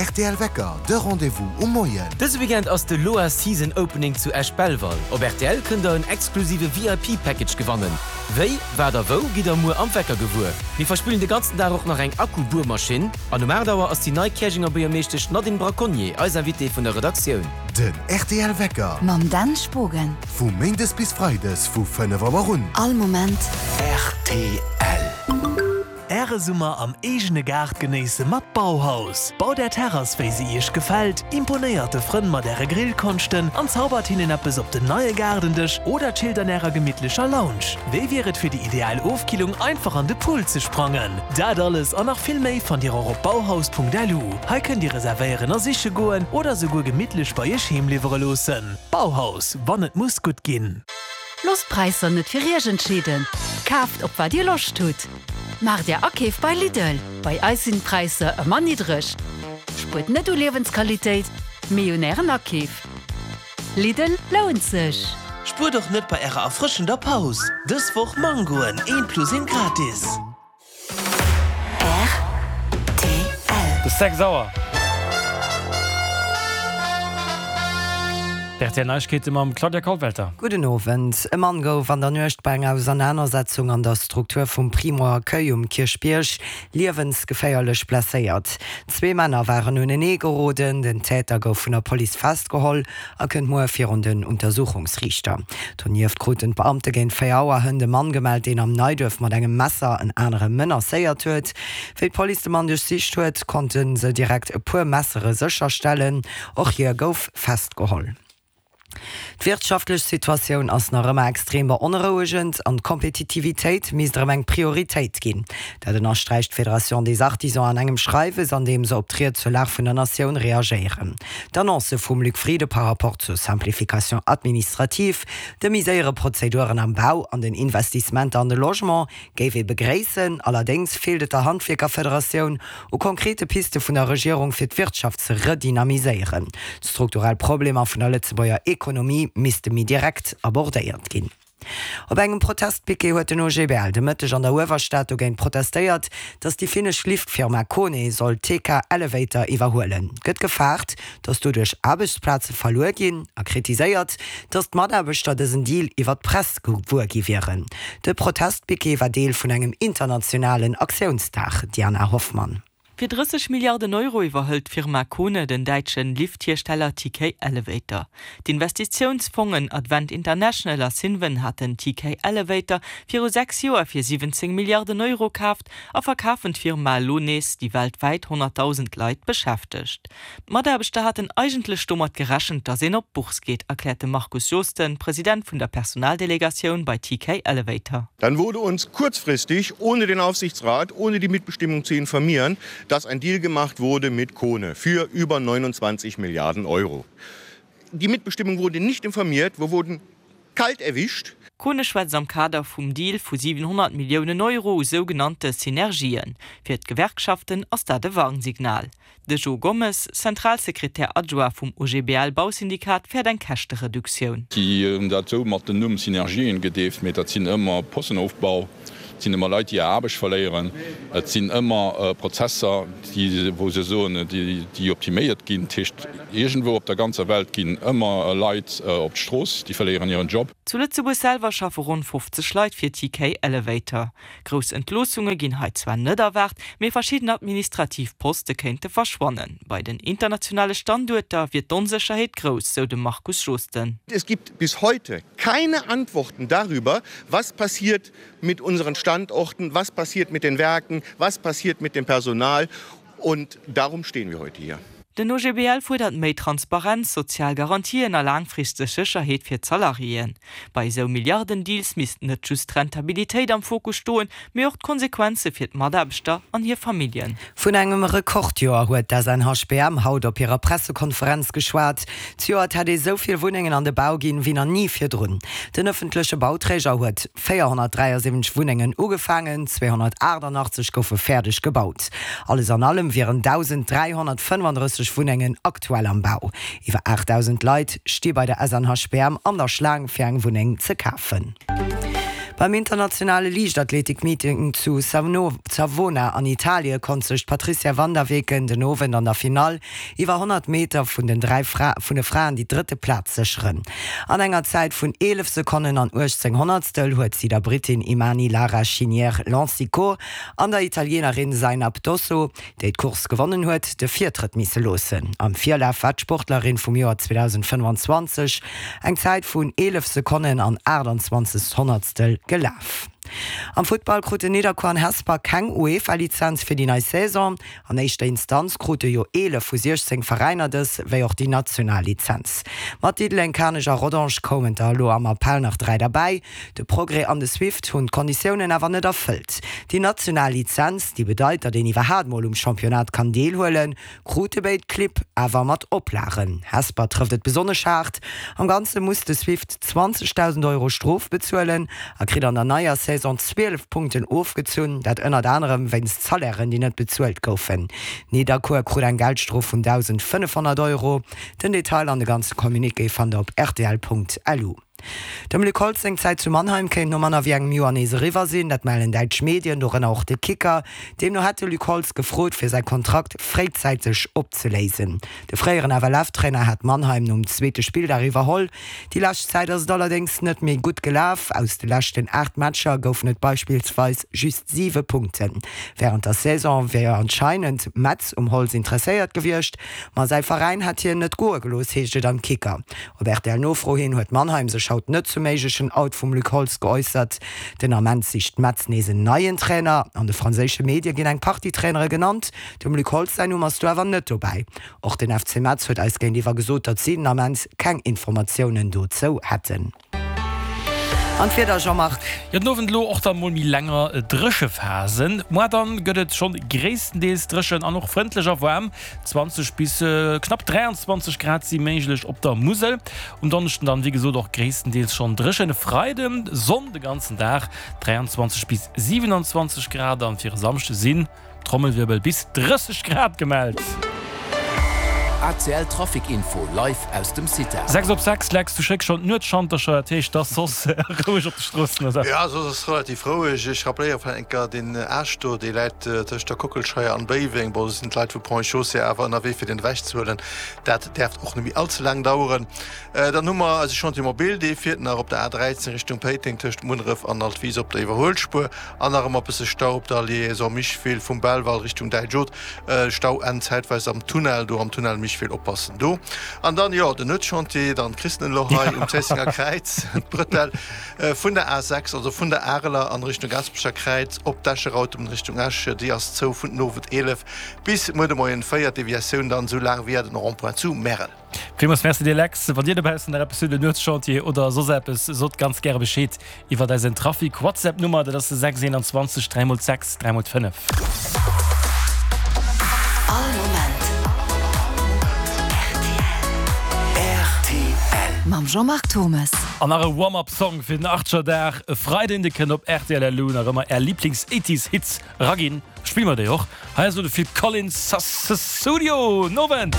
rtl Wecker, de Rendez-vous um Moien. Dëse Weekend ass de Loa Season Opening zu Esch-Belval. Op rtl kënnt der en exklusive VIP Package gewannen. Wéi, wat a wou gitt der muer am Wecker gewuer. Mir verspillen de ganzen Dag och nach eng Akku-Buermaschinn. An um 8 Auer ass déi nei Käerjenger Buergermeeschtesch Nadine Braconnier eis Invitée vun der Redaktioun. Den rtl Wecker. Mam Dan Spogen. Vu Méindes bis Freides vu 5 Auer un. All Moment. Rtl. Äre Summer am eegene Gaart genéisse mat Bauhaus. Baut Är Terrass wéi se Iech gefält, imponéiert de Frënn mat Äre Grillkonschten an zaubert hinnen eppes op den neie Gaardendësch oder chillt an Ärer gemittlecher Lounge. Wéi wier et fir déi ideal Ofkillung einfach an de Pool ze sprangen? Dat alles an nach vill méi fannt Dir och op bauhaus.lu. Hei kënnt Dir reservéieren a siche goen oder souguer gemittlech bei Iech heem liwwere loossen. Bauhaus, wann et muss gutt ginn. Loosst d'Präisser net fir Iech entscheeden, kaaft op wat Dir Loscht hutt. Maacht Är Akeef bei Lidl, bei eis sinn d'Präisser ëmmer niddreg. Spuert net u Liewensqualitéit, mee un Ären Akeef. Lidl lount sech! Spuert och net bei ärer erfrëschender Paus! Dës Woch Mangoen, een plus een gratis! Rtl. Et ass 6 Auer. D'RTL Neiegkeete mam Claudia Kollwelter. Gudden Owend. E Mann gouf an der Nuecht bei enger Ausernanersetzung an der Struktur vum Primo Accueil um Kierchbierg liewensgeféierlech blesséiert. Zwee Männer waren unenee geroden. Den Täter gouf vun der Police festgeholl a kënnt muer virun den Untersuchungsriichter. Donieft kruten d'Beamte géint 4 Auer hënt e Mann gemellt, deen am Neiduerf mat engem Messer en anere menacéiert huet. Wéi d'Police de Mann duerchsicht huet, konnte se direkt e puer Messere sécherstellen. Och hie gouf festgeholl. D'wirtschaftlech Situatioun ass nach ëmmer extrem beonrouegend an d'Kompetitivitéit misst erëm eng Prioritéit ginn. Dat ënnersträicht d'Fédération des Artisans an engem Schreiwes, an deem se op d'Ried zur Lag vun der Natioun reagéieren. D'Annonce vum Luc Frieden par rapport zur Simplification administrative, de méi séiere Prozeduren am Bau an den Investissementer an de Logement géif ee begréissen. Allerdéngs feelt et der Handwierkerfederatioun u konkrete Piste vun der Regierung fir d'Wirtschaft ze redynamiséieren. D'strukturell Problemer vun der Lëtzebuerger Ekonomie misste méi direkt abordéiert ginn. Op engem Protestpiquet huet den OGBL de Mëtteg an der Uewerstad dogéint protestéiert, datt déi finnesch Liftfirma Kone soll TK Elevator iwwerhuelen. Gëtt gefaart, datt doduerch Aarbechtsplaze verluer ginn a kritiséiert, datt d'Mataarbechter dësen Deal iwwer d'Press gewuer gi wieren. De Protestpiquet war Deel vun engem internationalen Aktiounsdag. Diana Hoffmann. Fir 30 Milliarden Euro iwwerhëlt d'Firma Kone den däitsche Lifthiersteller TK Elevator. D'Investitiounsfongen Advent International a Cinven haten TK Elevator viru 6 Joer fir 17 Milliarden Euro kaaft a verkafen d'Firma elo nees, déi weltwäit 100.000 Leit beschäftegt. D'Mataarbechter haten eigentlech domat gerechent, datt een op d'Bourse geet, erkläert de Markus Joosten, President vun der Personaldelegatioun bei TK Elevator. Dann wurde uns kurzfristig, ohne den Aufsichtsrat, ohne die Mitbestimmung zu informieren, dass ein Deal gemacht wurde mit Kone für über 29 Milliarden Euro. Die Mitbestimmung wurde nicht informiert, wir wurden kalt erwischt. Kone schwätzt am Kader vum Deal vu 700 Milliounen Euro u sougenannte Synergien. Fir d'Gewerkschaften ass dat e Warnsignal. De Jo Gommes, Zentralsekretär adjoint vum OGBL-Bausyndikat, fäert eng Käschtereduktioun. Déi hunn dat esou mat dem Numm Synergien gedeeft, mee dat sinn ëmmer Postenofbau, et sinn ëmmer Leit, déi hir Aarbecht verléieren, et sinn ëmmer Prozesser, déi, wou se soen, déi optiméiert ginn. Dat heescht, iergendwou op der ganzer Welt ginn ëmmer Leit op d'Strooss, déi verléieren hiren Job. Zu Lëtzebuerg selwer schaffe ronn 50 Leit fir TK Elevator. Grouss Entloossunge ginn hei zwar net erwaart, mee verschidden administrativ Poste kéinte verschwannen. Bei den internationale Standuerter wier d'Onsécherheet grouss, sou de Markus Joosten. Es gibt bis heute keine Antworten darüber, was passiert mit unseren Standorten, was passiert mit den Werken, was passiert mit dem Personal und darum stehen wir heute hier. Den OGBL fuerdert méi Transparenz, sozial Garantien a laangfristeg Sécherheet fir d'Salariéen. Bei esou Milliarden-Deals misst net just d'Rentabilitéit am Fokus stoen, mee och d'Konsequenze fir d'Mataarbechter an hir Familljen. Vun engem Rekordjoer huet d'SNHBM haut op hirer Pressekonferenz geschwat. Zejoert hätt ee sou vill Wunnengen an de Bau ginn, wéi nach ni virdrun. Den ëffentleche Bauträger huet 473 Wunnengen ugefaangen, 288 goufe fäerdeg gebaut. Alles an allem wieren 1.335 Wunnengen aktuell am Bau. Iwwer 8.000 Leit sti bei der SNHBM an der Schlaang fir eng Wunneng ze kafen. Beim internationale Liichtathletik-Meeting zu Savona an Italie konnt sech d'Patrizia van der Weken den Owend an der Finall iwwer 100 Meter vun den 3 vun de Fraen déi drëtte Plaz sécheren. An enger Zäit vun 11 Sekonnen an 18 Honnertstel huet si der Brittin Imani Lara Chinière Lansiquot an der Italienerin Zaynab Dosso, déi d'Course gewonnen huet, de Virtrëtt misse loossen. Am Virlaf war d'Sportlerin vum Joer 2025 eng Zäit vun 11 Sekonnen an 28 Honnertstel gelaf. Am Futtball kruten Nidderkuer an Hesper keng UEFA-Lizenz fir déi nei Saison. An éischter Instanz krute jo 11 vu 16 Veräiner dës, wéi och déi national Lizenz. Mat Diddeleng, Kanech a Rodange koumen der elo am Appell nach 3 derbäi. De Progrès an de Swift hunn d'Konditiounen awer net erfëllt. Déi national Lizenz, déi bedeit, datt een iwwerhaat mol um Championnat kann deelhuelen, krute béid Clibb awer mat Oplagen. Hesper trëfft et besonnesch haart. Am Ganze muss de Swift 20.000 Euro Strof bezuelen a kritt an der neier Saison 12 Punkten ofgezunn, dat ënnert anerem wéinst Salairen, déi net bezuelt goufen. Nidderkuer krut eng Geldstrof vun 1.500 Euro. Den Detail an de ganze Communiqué fannt der op rtl.lu. Dem Luc Holtz seng Zäit zu Mannheim kéint no manner wéi engem Joer nees eriwwer sinn. Dat mellen däitsch Medien, dorënner och de Kicker. Deemno hätt de Luc Holtz gefrot, fir säi Kontrakt fréizäiteg opzeléisen. De fréieren FLF-Trainer hat Mannheim nom zweete Spilldag iwwerholl. Déi lescht Zäit ass et allerdéngs net méi gutt gelaf. Aus de leschten 8 Matcher goufen et beispillsweis just 7 Punkten. Wärend der Saison wier anscheinend Metz um Holtz interesséiert gewiescht, ma säi Veräin hätt hien net goe gelooss, heescht et am Kicker. Op RTL-Nofro hin huet Mannheim sech haut net zum méiglechen Out vum Luc Holtz geäussert. Den Ament sicht Metz nees en neien Trainer. An de franséische Medie ginn eng Partie Trainere genannt. Dem Luc Holtz säin Numm ass do awer net dobäi. Och den FC Metz huet eis géintiwwer gesot, datt si den Ament keng Informatiounen dozou hätten. An d'Wieder, Jean-Marc? Jo, den Owend elo och dann mol méi länger Dréchephasen. Moar dann gëtt et schonn gréisstendeels dréchen an och frëndlech a waarm. 20 bis knapp 23 Grad si méiglech op der Musel. Um Donneschden dann wéi gesot och gréisstendeels schonn dréchen. E Freiden Sonn de ganzen Dag, 23 bis 27 Grad an fir e Samschde sinn Trommelwirbel, bis 30 Grad gemellt. ACL Trafic Info live aus dem CITA. 6 op 6, Lex, du schécks schonn d'Nuetschantercher, dat heescht, et ass soss roueg op de Stroossen, oder? Jo, soss ass relativ roueg. Ech rappelléiere vläicht eng Kéier deen Aascht do, dee läit tëscht der Kockelscheier an Béiweng. Bon, do sinn d'Leit vu Ponts et Chaussées awer ënnerwee fir deen ewechzehuelen. Dat däerft och net méi all ze laang daueren. Dann hu mer eise Chantier mobile, dee fiert nach op der A13 Richtung Péiteng tëscht Munneref an Altwis op der Iwwerhuelspuer. An nach ëmmer bësse Stau op der Liaison Micheville vum Belval Richtung Däitsch Haute. Stau enn zäitweis am Tunnel, do am Tunnel Micheville oppassen do. An dann, jo, den Nuetschantier, dann kriss den elo hei um Zéissenger Kräiz d'Bretelle vun der A6, also vun der Areler an Richtung Gaasperecher Kräiz op d'Escher Autobunn Richtung Esch. Déi ass zou vun den Owend 11 bis muer de Moien 4, Deviatioun dann esou laang via den Rond-point zu Märel. Villmools Merci dir Lex. Wann dir dobaussen nach eppes hutt, en Nuetschantier oder soss eppes, sot ganz gäre Bescheed iwwert eisen Trafic WhatsApp Nummer, dat ass de 6 21 3 x 6 3 x 5. All Moment rtl. Mam Jean-Marc Thomes. An nach e Warm-Up Song fir den Achtgerdag e Freiden, de kënnt op rtl elo nach ëmmer är Lieblings 80s Hits Raginn, spille mer déi och. Hei ass elo de Phil Collins, Sussudio. Nowend!